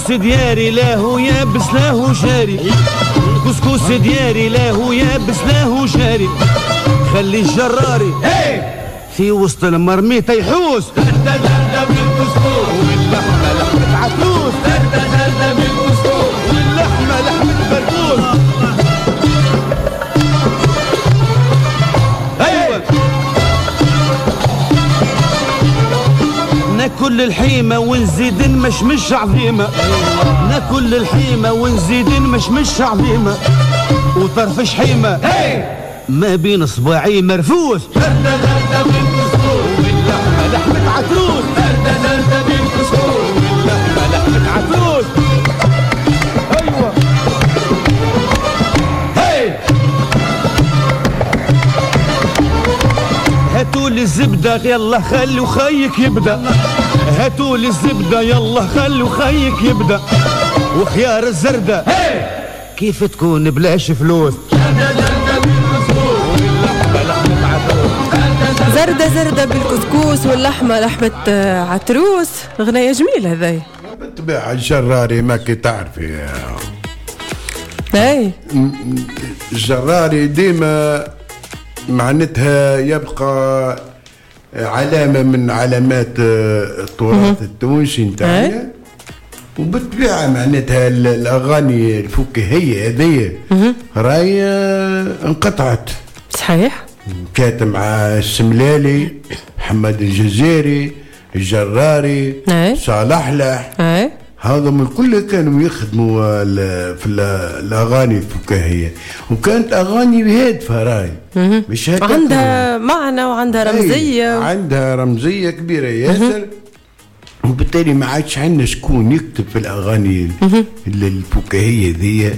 كسكس دياري لا هو يابس لا هو جاري، كسكس دياري لا هو يابس لا هو جاري، خلي الجراري في وسط المرميطة يحوس. زردة زردة بالكسكس واللحمة لحمة عتروس، زردة زردة بالكسكس واللحمة لحمة بركوس. أيوة ناكل الحيمة ونزيد نمشمش عظيمة، ناكل الحيمة ونزيد نمشمش عظيمة، وطرف شحيمة ما بين صباعي مرفوس. زردة زردة بالكسكس واللحمة لحمة عتروس، زردة زردة بالكسكس واللحمة لحمة عتروس. أيوة هاي هاتوا لي الزبدة يلا خلوا خيك يبدأ، هاتوا لي الزبدة يلا خلوا خيك يبدأ، وخيار الزردة كيف تكون بلاش فلوس. زردة زردة بالكسكس واللحمة لحمة عتروس. غناية جميلة هذاي. بالطبيعة الجراري ما كي تعرفي. اي الجراري ديما معناتها يبقى علامة من علامات التراث التونسي نتاعنا. وبالطبيعة معناتها الأغاني الفكاهية هذه راهي انقطعت. صحيح. كانت مع السملالي، محمد الجزيري، الجراري، صالح لح، هذا من كل كانوا يخدموا في الأغاني الفكاهية، وكانت أغاني هادفة راي، مش عندها معنى وعندها رمزية، عندها رمزية كبيرة ياسر. وبالتالي ما عادش عندنا شكون يكتب في الأغاني الفكاهية ذي،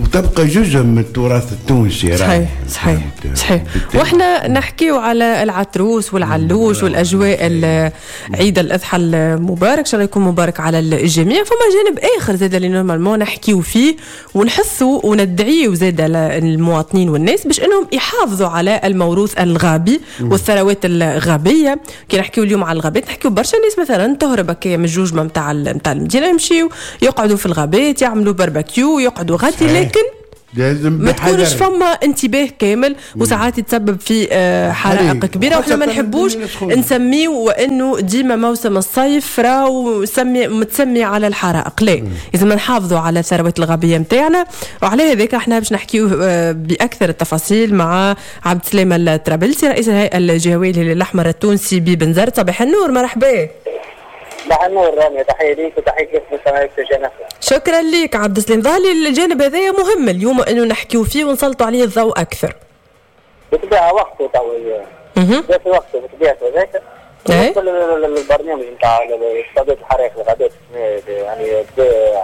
وتبقى جزء من التراث التونسي. صحيح صحيح صحيح. واحنا نحكيو على العتروس والعلوش والاجواء عيد الاضحى المبارك، ان شاء الله يكون مبارك على الجميع. فما جانب اخر زاد اللي normalement نحكيو فيه ونحثوا وندعيو زاد المواطنين والناس باش انهم يحافظوا على الموروث الغابي والثروات الغابيه. كي نحكيو اليوم على الغابات نحكيو برشا ناس مثلا تهرب هكايا من الجوجمه نتاع المدينة، يمشيو يقعدوا في الغابات يعملوا باربيكيو يقعدوا غادي، لكن لازم ما تكونش فما انتباه كامل، وساعات يتسبب في حرائق كبيرة. وإحنا ما نحبوش نسميه وانه ديما موسم الصيف راهو متسمي على الحرائق، لا، لازم نحافظوا على الثروات الغابيه نتاعنا. وعلى هذاك احنا باش نحكيو باكثر التفاصيل مع عبد السلام الطرابلسي رئيس الهيئة الجهوية للهلال الاحمر التونسي ببنزرت. صباح النور، مرحبا. صباح النور رامي، تحية ليك وتحية لك مستمعيك في جنة. شكرا لك عبد السلام. ظهر الجانب هذا مهم اليوم انه نحكيو فيه ونسلطوا عليه الضوء اكثر. بالطبيعة وقته تو في وقته بطبيعته هذاك. البرنامج نتاع استعداد الحرائق الغابات يعني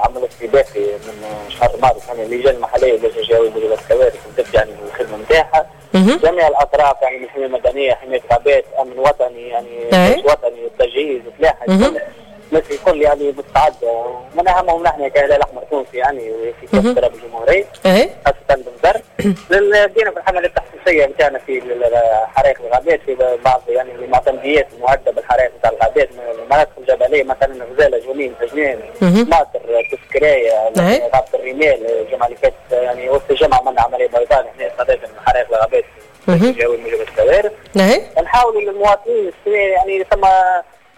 عمل استباقي من شهر مارس، يعني اللجان المحلية واللجان الجهوية لمجال الكوارث بدات يعني الخدمة نتاعها. جميع الاطراف يعني من الحماية المدنية، حماية الغابات، امن وطني، يعني جيش وطني، التجهيز، الفلاحة، الناس الكل يعني مستعدة. ومن اهمهم نحن كهلال الاحمر التونسي يعني في كافة تراب الجمهورية خاصة بنزرت. بدينا في الحملة التحسيسيه نتاعنا في حرائق الغابات في بعض يعني المعتمديات المهدده بالحرائق نتاع الغابات، المناطق الجبلية مثلا غزاله، جونين، سجنان، ماطر، تسكرايه، غابه الرمال. الجمعة اللي فاتت يعني وسط الجمعة عملنا عملية بيضاء نحن استعدادا من حرائق الغابات في موجب الكوارث. نحاولوا للمواطنين يعني ثم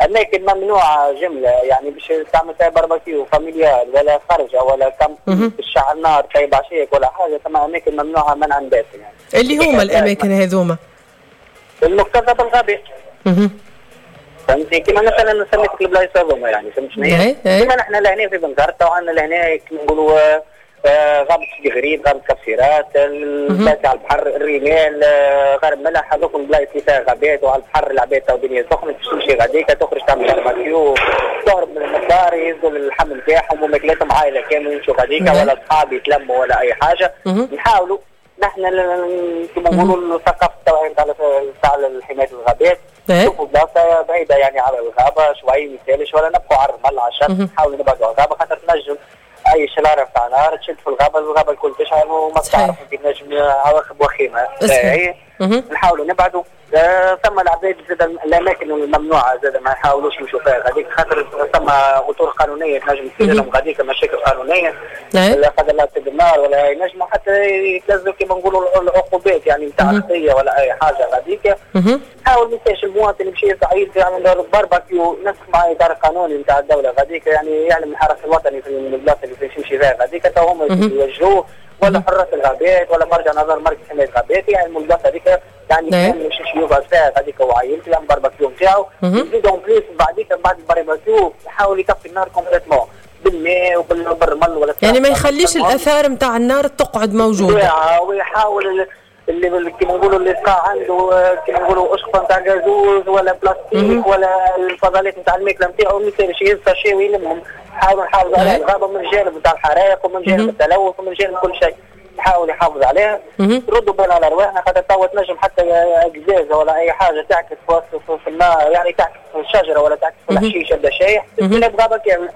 اماكن ممنوعة جملة، يعني باش تعمل فيها barbecue familial ولا خرجه ولا camp تشعل نار طيب عشيك ولا حاجة، ثم اماكن ممنوعة منعا باتا يعني. اللي هما الاماكن هذوما المكتظه بالغابات. فهمتني؟ كيما مثلا سميتك البلايص هذوما يعني، فهمت شنو هي؟ كيما نحن لهنا في بنزرت وعندنا لهنا كيما نقولوا غابة سيدي غريب، غابة كفسيرات، البلايص على البحر، الرمال، غرب ملح، هذوك البلايص اللي فيها غابات وعلى البحر العباد تو الدنيا سخنة باش تمشي غاديك تخرج تعمل باربيكيو، تهرب من الدار، يهزوا اللحم نتاعهم وماكلاتهم عائلة كاملة يمشوا غاديك ولا أصحاب يتلموا ولا أي حاجة. نحاولوا نحن كما نقولوا الثقافة التوعية نتاع حماية الغابات، نشوفوا بلاصة بعيدة يعني على الغابة شوي ما يسالش، ولا نبقوا على الرمل على الشط، نحاولوا نبعدوا على الغابة خاطر تنجم اي شراره نتاع نار تشد في الغابة، الغابة الكل تشعل وما تعرف انت نجم عواقب وخيمة. نحاولوا نبعدوا. ثم العباد زاد الاماكن الممنوعه زاد ما يحاولوش يمشوا فيها غاديك، خاطر ثم اطر قانونية تنجم تصير لهم غاديك مشاكل قانونية لا قدر الله تصير النار ولا ينجموا حتى يتلزوا كما نقولوا العقوبات يعني نتاع الخطية ولا اي حاجة غاديك. حاول ما ينساش المواطن يمشي يعيد يعني بارباكيو نسق مع اطار قانوني نتاع الدولة غاديك، يعني يعلم الحرس الوطني في البلاصة اللي فيش يمشي فيها غاديك تو هما يوجهوه، ولا حراس الغابات ولا مرجع نظر مركز حماية الغابات يعني البلاصة هذيك يعني كان يمشي يقعد فيها غاديك وعائلته يعمل بارباكيو نتاعو. يزيد en plus بعديك بعد البارباكيو يحاول يطفي النار complètement بالماء وبالرمل ولا يعني ما يخليش الاثار نتاع النار تقعد موجودة، ويحاول اللي كيما نقولوا اللي بقى عنده كيما نقولوا اشقه نتاع غازوز ولا بلاستيك ولا الفضلات نتاع الماكلة نتاعو ما يصيرش يهز sachet ويلمهم. نحاولوا نحافظوا على الغابة من جانب نتاع الحرائق ومن جانب التلوث ومن جانب كل شيء، نحاول يحافظ عليها. ردوا بالنا على ارواحنا خاطر توا تنجم حتى قزازه ولا اي حاجة تعكس في النار، يعني تعكس في الشجرة ولا تعكس في الحشيش يبدا شايح تتقلب غابه كاملة.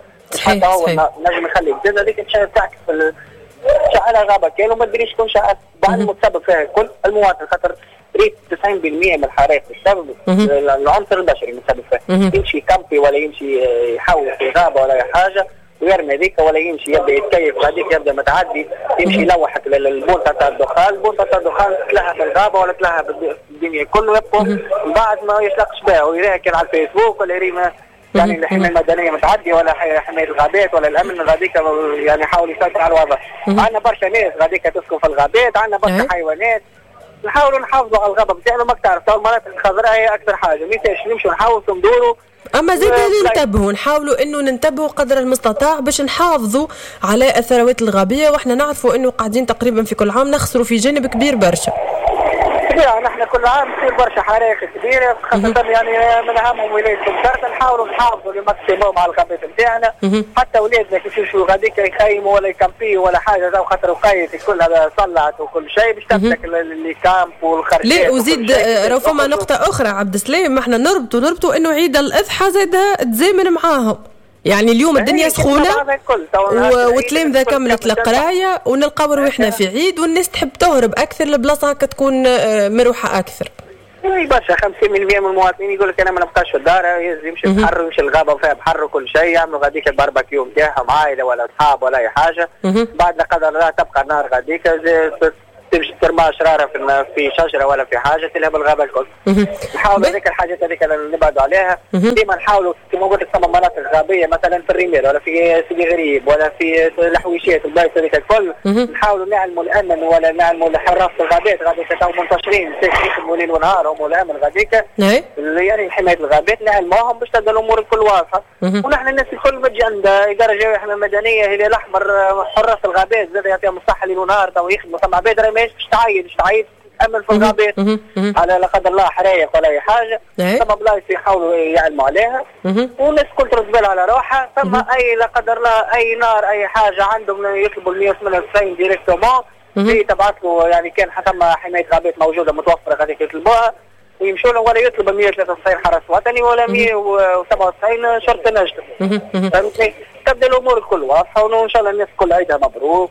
حتى هو نجم يخلي قزازه هذيك تعكس في شعلها غابه كاملة وما تدريش شكون شعل. بعد المتسبب فيها الكل المواطن، خاطر ريت 90% من الحرائق السبب العنصر البشري المتسبب فيها. يمشي كامبي ولا يمشي يحاول في غابه ولا اي حاجة ويرمي هذيك، ولا يمشي يبدا يتكيف غاديك يبدا متعدي يمشي يلوحك للبونطه تاع الدخان، البونطه تاع الدخان تلها في الغابة ولا تلها في الدنيا كله، يبقى من بعد ما يشلقش بها ويراها كان على الفيسبوك ولا يري يعني الحماية المدنية متعدية ولا حماية الغابات ولا الامن غاديك يعني يحاول يسيطر على الوضع. عندنا برشا ناس غاديك تسكن في الغابات، عندنا برشا حيوانات، نحاولوا نحافظوا على الغابة بتاعنا. ماك تعرف تو المناطق الخضراء هي اكثر حاجة، ما يسالش نمشوا نحاولوا ندوروا، اما زيد ننتبهوا، نحاولوا انه ننتبهوا قدر المستطاع باش نحافظوا على الثروات الغابيه، واحنا نعرفوا انه قاعدين تقريبا في كل عام نخسروا في جانب كبير برشا. نحن كل عام تصير برشا حرائق كبيرة خاصة يعني من اهمهم ولاية بنزرت. نحاولوا نحافظوا le maximum على الغابات نتاعنا، حتى ولادنا كيف يمشوا غاديك يخيموا ولا يكامبيوا ولا حاجة، خاطر وقيت كلها صلعت وكل شيء باش تمسك les camps والخرجات. لا وزيد راهو فما نقطة اخرى عبد السلام، احنا نربطوا انه عيد الاضحى زادها تزامن معاهم، يعني اليوم الدنيا سخونة وتلامذه كملت القراية ونلقاو رواحنا في عيد والناس تحب تهرب اكثر لبلاصه هكا تكون مروحة اكثر. اي برشا 50% من المواطنين يقول لك انا ما نبقاش في الدار، يمشي البحر ويمشي الغابة وفيها بحر وكل شيء، يعملوا غاديك البارباكيو نتاعهم عائلة ولا اصحاب ولا اي حاجة. بعد لا قدر الله تبقى النار غاديك تمشي ترمى شراره في شجرة ولا في حاجة تلهب الغابة الكل. نحاولوا هذيك الحاجات هذيك نبعدوا عليها ديما. نحاولوا كما قلت لك ثم مناطق غابيه مثلا في الرمال ولا في سيدي غريب ولا في الحويشات البلايص هذيك الكل، نحاولوا نعلموا الامن ولا نعلموا حراس الغابات غاديك تو منتشرين يخدموا ليل ونهار هم الامن غاديك يعني حماية الغابات نعلموهم باش تبدا الامور الكل واضحة. ونحن الناس الكل ما تجي عند ادارة جوية مدنية هلال الاحمر حراس الغابات زاد يعطيهم الصحة ليل ونهار تو يخدموا. ثم عباد راهي ماهيش باش تعيد باش تعيد تامن في الغابات على لا قدر الله حرايق ولا اي حاجة. ثم بلايص يحاولوا يعلموا عليها والناس الكل ترد بالها على روحها. ثم اي لا قدر الله اي نار اي حاجة عندهم يطلبوا 198 directement هي تبعث له، يعني كان ثم حماية غابات موجودة متوفرة غادي يطلبوها ويمشوا له، ولا يطلب 193 حرس وطني ولا 197 شرطه نجده. فهمتني؟ تبدا الامور الكل واضحة وان شاء الله الناس الكل عيدها مبروك،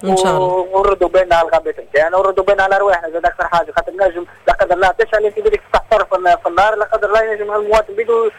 ونردوا بالنا على الغابات نتاعنا ونردوا بالنا على ارواحنا زاد اكثر حاجة، خاطر نجم لا قدر الله تشعل انت بدك تحتر في النار لا قدر الله ينجم المواطن بيدو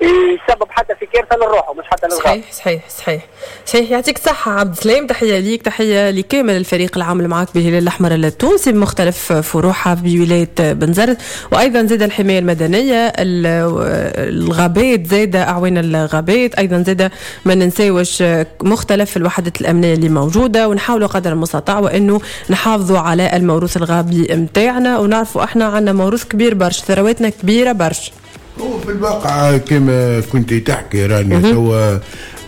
يسبب حتى في كارثة للروح ومش حتى للغابه. صحيح صحيح صحيح صحيح. يعطيك الصحة عبد السلام، تحية ليك، تحية لكامل الفريق العامل معك بالهلال الاحمر التونسي بمختلف فروعها بولاية بنزرت، وايضا زاد الحماية المدنية، الغابات زاد اعوان الغابات، ايضا زاد ما ننساوش مختلف الوحدات الامنية اللي موجودة، ونحاولوا قدر المستطاع وانه نحافظوا على الموروث الغابي نتاعنا، ونعرفوا احنا عندنا موروث كبير برشا، ثرواتنا كبيرة برشا. هو في الواقع كما كنت تحكي راني هو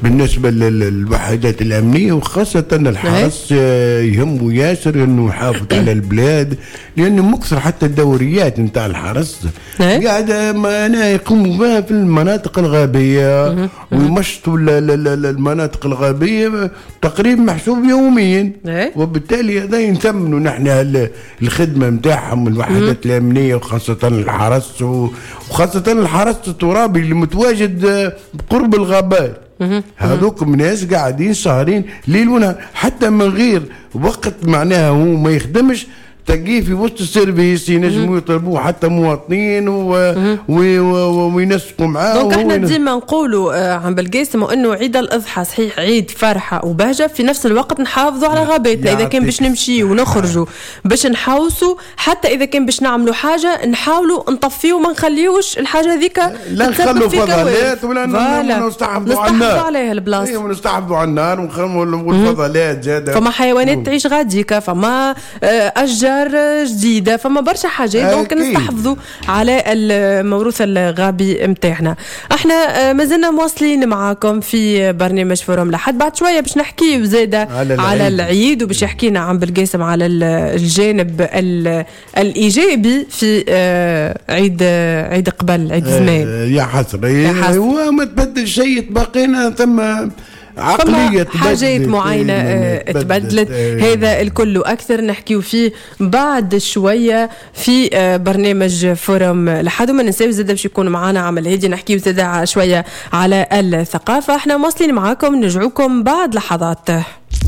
بالنسبة للوحدات الأمنية وخاصة الحرس يهمه ياسر أنه يحافظ على البلاد، لأنه مكثر حتى الدوريات نتاع الحرس قاعدة أنا يقوموا بها في المناطق الغابية ويمشطوا المناطق الغابية تقريبا محسوب يوميا، وبالتالي هذا ينثمنوا نحن الخدمة نتاعهم الوحدات الأمنية وخاصة الحرس، وخاصة الحرس الترابي اللي متواجد بقرب الغابات. هذوك ناس قاعدين سهرين ليل ونهار حتى من غير وقت، معناها هو ما يخدمش تلقيه في وسط ال service، ينجموا يطلبوه حتى مواطنين وينسقوا معاه. donc احنا ديما نقولوا عم بالقاسم انه عيد الاضحى صحيح عيد فرحه وبهجة، في نفس الوقت نحافظوا على غاباتنا. اذا كان باش نمشي ونخرجوا باش نحوسوا، حتى اذا كان باش نعملوا حاجة نحاولوا نطفيو وما نخليوش الحاجة هذيك لا نخلوا فضلات ولا نستحفظوا على النار، عليها البلاصة. ايوه نستحفظوا على النار والفضلات زاده. فما حيوانات تعيش غاديكا، فما اشجار جديدة، فما برشا حاجات، donc نستحفظوا على الموروث الغابي نتاعنا. احنا مازلنا مواصلين معاكم في برنامج forum لحد بعد شوية باش نحكي زاده على العيد، وباش يحكينا عم بالقاسم على الجانب الايجابي في عيد قبل عيد زمان. يا حسرة وما تبدل شيء، بقينا ثم عقلية حاجات معينة تبدلت. هذا الكل أكثر نحكيو فيه بعد شوية في برنامج forum لحد. وما ننساو زاد باش يكون معنا عم الهادي نحكيو زاد شوية على الثقافة. احنا مواصلين معاكم، نرجعوكم بعد لحظات.